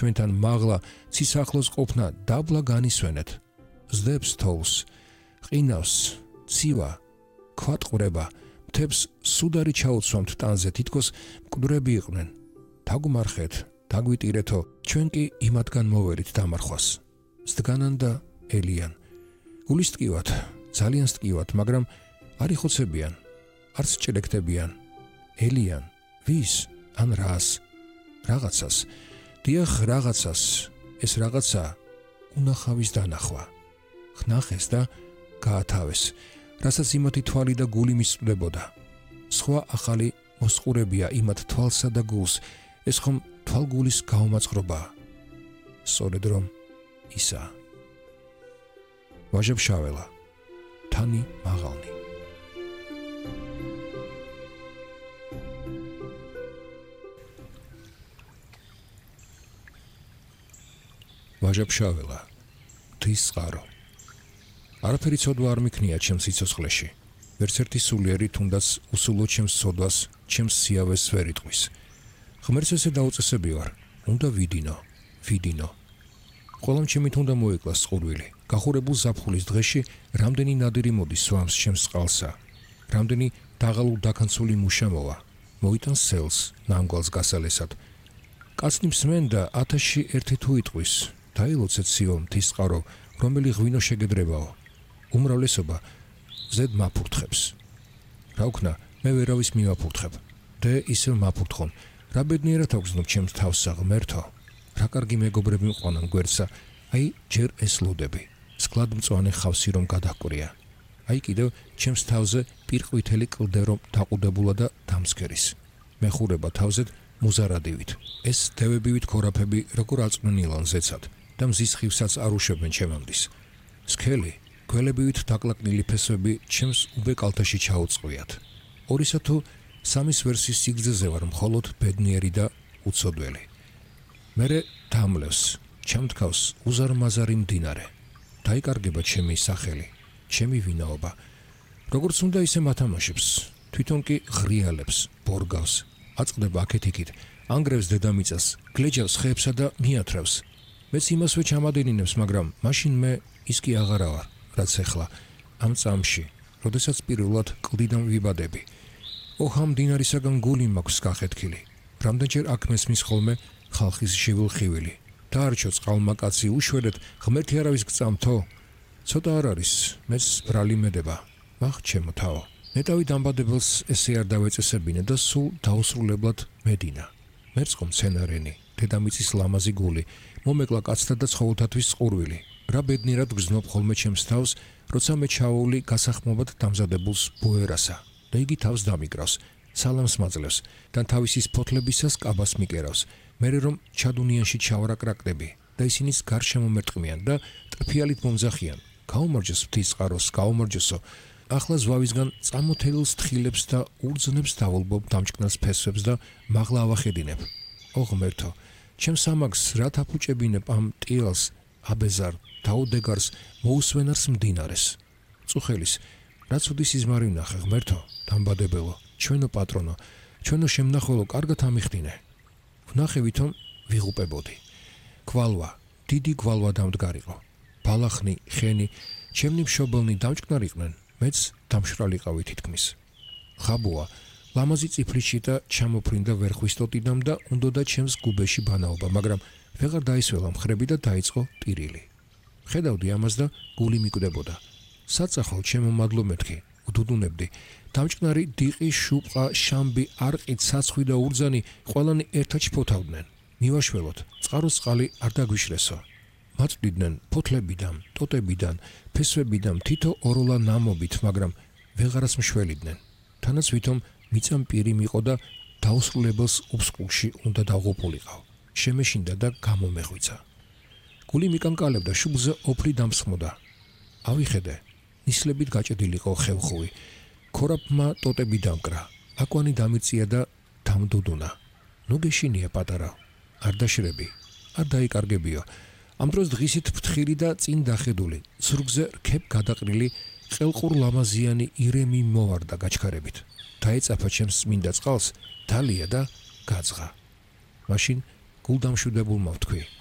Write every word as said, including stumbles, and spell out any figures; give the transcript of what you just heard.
ჩვენთან მაღლა ცის ახლოს ყოფნა დაბლა განისვენეთ. ზდებს თოვლს, ყინავს, ცივა, ქვატყვრება, მთებს სუდარი ჩაუცვამთ ტანზე, თითქოს მკვდრები იყვნენ. თაგვმარხეთ, თაგვიტირეთო, ჩვენ კი იმათგან მოვერით დამარხვას. სდგანან და ელიან. გულის ტკივათ, ძალიან სტკივათ, მაგრამ არ იხოცებიან, არც ჭრექტებიან. ელიან, ვის, ან რას, რაღაცას. დიახ, რაღაცას, ეს რაღაცა უნახავის დანახვა. ხნახეს და გაათავეს, რასაც იმათი თვალი და გული მისწვდებოდა. სხვა ახალი მოსყურებია იმათ თვალსა და გულს, ეს ხომ თვალგულის გაუმაწყრობაა. სწორედ რომ ისა. ვაჟებშაველა, თანი მაღალნი. ვაჟებშაველა, ღვთის წყარო. არაფერი ცოდვა არ მიქნია ჩემს სიცოცხლეში. ვერც ერთი სულიერი თუნდაც უსულო ჩემს ცოდვას, ჩემს სიავეს ვერ იტყვის. ღმერთს ესე დაუწესები ვარ, უნდა ვიდინო, ვიდინო. ყველამ ჩემით უნდა მოეკლას წყურვილი. გახურებულ ზაფხულის დღეში რამდენი ნადირი მოდის სვამს ჩემს წყალსა. რამდენი დაღალულ დაქანცული მუშა მოვა. მოიტანს სელს, ნამგვალს გასალესად. კაცნი მსმენ და ათასში ერთი თუ იტყვის. დაილოცეთ სიო მთის წყარო, რომელი ღვინო შეგედრებაო. უმრავლესობა ზედ მაფურთხებს. რა ვქნა, მე ვერავის მივაფურთხებ. დე ისევ მაფურთხონ. რა ბედნიერად აგზნობ ჩემს თავსა ღმერთო. რა კარგი მეგობრები მყვანან გვერდსა, აი ჯერ ეს ლოდები. სკლად მწვანე ხავსი რომ გადაჰკვრია. აი კიდევ ჩემს თავზე პირყვითელი კლდე რომ დაყუდებულა და დამსქერის. მეხურება თავზედ მუზარადივით. ეს დევებივით ქორაფები როგორ აწვნენ ილანზეცად და მზის ხივსაც არ უშვებენ ჩემამდის. სქელი, გველებივით დაკლაკნილი ფესვები ჩემს უბე კალთაში ჩაუწყვიათ. ორისა თუ სამის ვერსის სიგრძეზე ვარ მხოლოდ ბედნიერი და უცოდველი. მერე დამლევს, ჩამთქავს უზარმაზარი მდინარე. დაიკარგება ჩემი სახელი, ჩემი ვინაობა. როგორც უნდა ისე მათამაშებს, თვითონ კი ღრიალებს, ბორგავს, აწყდება აქეთ-იქით, ანგრევს დედამიწას, გლეჯავს ხეებსა და მიათრევს. მეც იმასვე ჩამადინინებს, მაგრამ მაშინ მე ის კი აღარა ვარ, რაც ეხლა, ამ წამში, როდესაც პირველად კლდიდან ვიბადები. ოჰ, ამ მდინარისაგან გული მაქვს გახეთქილი. რამდენჯერ აქ მესმის ხოლმე ხალხის შივილხივილი. დაარჩო წყალმა კაცი, უშვერეთ, ღმერთი არავის გწამთო. ცოტა არ არის, მეც ბრალი მედება. მახ ჩემო თავო. ნეტავი დამბადებელს ესე არ დავეწესებინე და სულ დაუსრულებლად მედინა. მერწყო მცენარენი, დედამიწის ლამაზი გული, მომეკლა კაცთა და ცხოველთათვის წყურვილი. რა ბედნიერად გზნობ ხოლმე ჩემს თავს, როცა მე ჩაოვლი გასახმობად დამზადებულს ბოერასა და იგი თავს დამიკრავს, სალამს მაძლევს და თავისის ფოთლებისას კაბას მიკერავს. მერე რომ ჩადუნიანში ჩავარაკრაკდები და ისინიც გარშემო მერტყმიან და ტრფიალით მომძახიან. გაუმარჯოს ღვთის წყაროს, გაუმარჯოსო. ახლა ზვავისგან წამოთელილს თხილებს და ურძნებს დავულბობ დამჭკნას ფესვებს და მაღლა ავახედინებ. ო ღმერთო, ჩემს ამაგს რა თაფუჭებინებ ამ ტიალს, აბეზარ, დაუდეგარს, მოუსვენარს მდინარეს. წუხელის, რა ცუდი სიზმარი ვნახე ღმერთო, დამბადებელო, ჩვენო პატრონო, ჩვენო შემნახველო, კარგად ამიხდინე. ვნახე ვითომ ვიღუპებოდი. გვალვა, დიდი გვალვა დამდგარიყო. ბალახნი, ხენი, ჩემნი მშობელნი დამჭკნარიყვნენ, მეც დამშრალიყავი თითქმის. ხაბუა, ლამაზი წიფლიში და ჩამოფრინდა ვერხვის ტოტინამ და უნდოდა ჩემს გუბეში ბანაობა, მაგრამ ვეღარ დაისველა მხრები და დაიწყო ტირილი. ხედავდი ამას და გული მიკვდებოდა. საწახალ ჩემო მადლო მეთქი, უდუდუნებდი. დამჭკნარი დიყი, შუპყა, შამბი, არყი, ცაცხვი და ურძანი ყველანი ერთად ჩფოთავდნენ. მივაშველოთ, წყაროს წყალი არ დაგვიშრესო. მაწვდიდნენ ფოთლებიდან, ტოტებიდან, ფესვებიდან თითო ოროლა ნამობით, მაგრამ ვეღარას მშველიდნენ. თანაც ვითომ მიწამ პირი მიყო და დაუსრულებელს უბსკულში უნდა დავღუპულიყავ. შემეშინდა და გამომეღვიცა. გული მიკანკალებდა, შუბლზე ოფლი დამსხმოდა. ავიხედე, ნისლებით გაჭედილიყო ხევხუი. ქორაფმა ტოტები დამკრა, აკვანი დამიწია და დამდუდუნა. ნუ გეშინია პატარა, არ დაშრები, არ დაიკარგებიო. ამ დროს დღისით ფთხილი და წინ დახედული, ზურგზე რქებ გადაყრილი, ყელყურ ლამაზიანი ირემი მოვარდა გაჩქარებით. დაეწაფა ჩემს წმინდა წყალს, დალია და გაძღა. მაშინ გულდამშვიდებულმა ვთქვი,